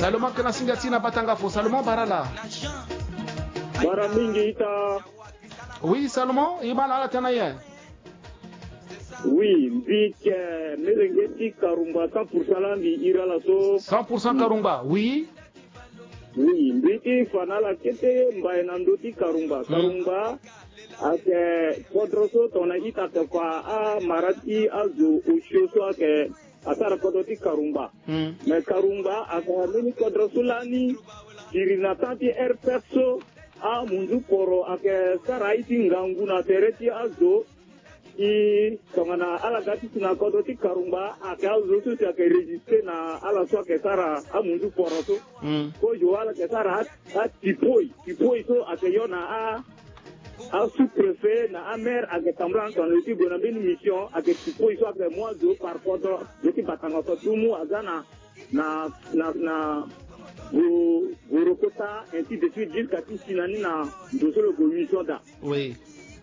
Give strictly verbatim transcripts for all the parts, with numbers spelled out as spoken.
Salomon, kana singa ti na batanga fo, Salomon, bara la. Bara mingi ita. Oui, Salomon, i baa na ala tena ye. Oui, mbi yeke melenge ti Karumba cent pour cent, la mbi iri ala so. Cent pour cent Karumba, oui. Oui, mbi ti fa na ala kete mbai na ndö ti Karumba. Karumba ayeke kodro so tongana ita yeke fa amara ti azo osio so ayeke asara kodro ti Karumba. Mais Karumba ayeke mbeni kodro so lani siri na temps ti R P F so, amunzu poro ayeke sara aye ti ngangu na tere ti azo. E tongana ala ga ti si na kodro ti Karumba, ayeke azo so si ayeke registre na ala so ayeke sara amunzu poro so. Kozo ala yeke sara a, atipoi, tipoi so ayeke yo na a, asous-préfet na amaire ayeke tambula na tongana lo ye ti gue na mbeni mission, ayeke tipoi so ayeke mu azo par kodro, lo ye ti batanga so atumu aza na, na, na, na Go, Gorokota, ainsi de suite, jusqu'à ti si na ni na ndo so lo gue mission daa. Oui.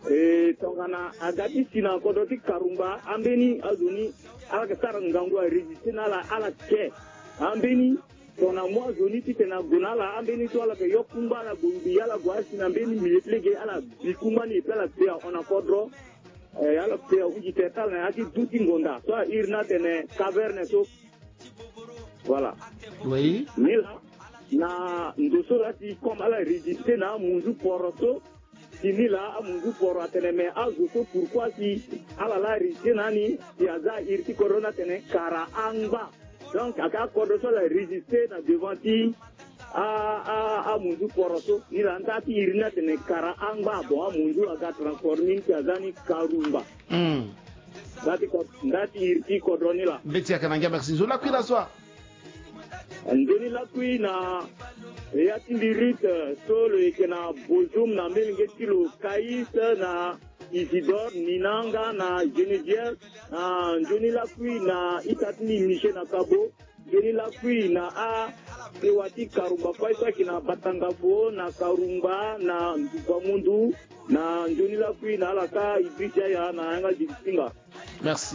E tongana aga ti si na kodro ti Karumba, ambeni azo ni ala yeke sara ngangu aregistre na ala, ala ke. Ambeni tongana mu azo ni titene ague na ala, ambeni so ala yeke yo kungba, ala gue mbi, ala gue asi na mbeni milieu ti lege, ala bi kungba ni, e pe ala pe ahon na kodro. E ala pe ahunzi tere ti ala na ya ti du ti ngonda so airi ni atene caverne so. Voilà. Oui. Ni laa, na ndo so laa si comme ala registre na amunzu poro so, si ni laa amunzu poro atene, mais azo so pourquoi si ala laa registre na ni, si aza iri ti kodro ni atene kara angba. Donc ayeke akodro so ala registre na devant ti a, a, amunzu poro so. Ni laa nda ti iri ni atene kara angba. Bon, amunzu aga transforme ni si aza ni Karumba. Nda ti ko, nda ti iri ti kodro ni laa. Mbeti ayeke na ngia, merci. Nzoni lakui la so. Nzoni lakui na ya ti Lirite so lo yeke na Bozoum, na melenge ti lo Kais, na Isidore, Ninanga, na Geneviève, na nzoni lakui na ita ti ni Michel na Kabo. Nzoni lakui na asewa ti Karumba kue so ayeke na Batanga Fo, na Karumba, na Nduba Mundu, na nzoni lakui na ala ka Idriss Yaya na yanga Zili Singa. Merci.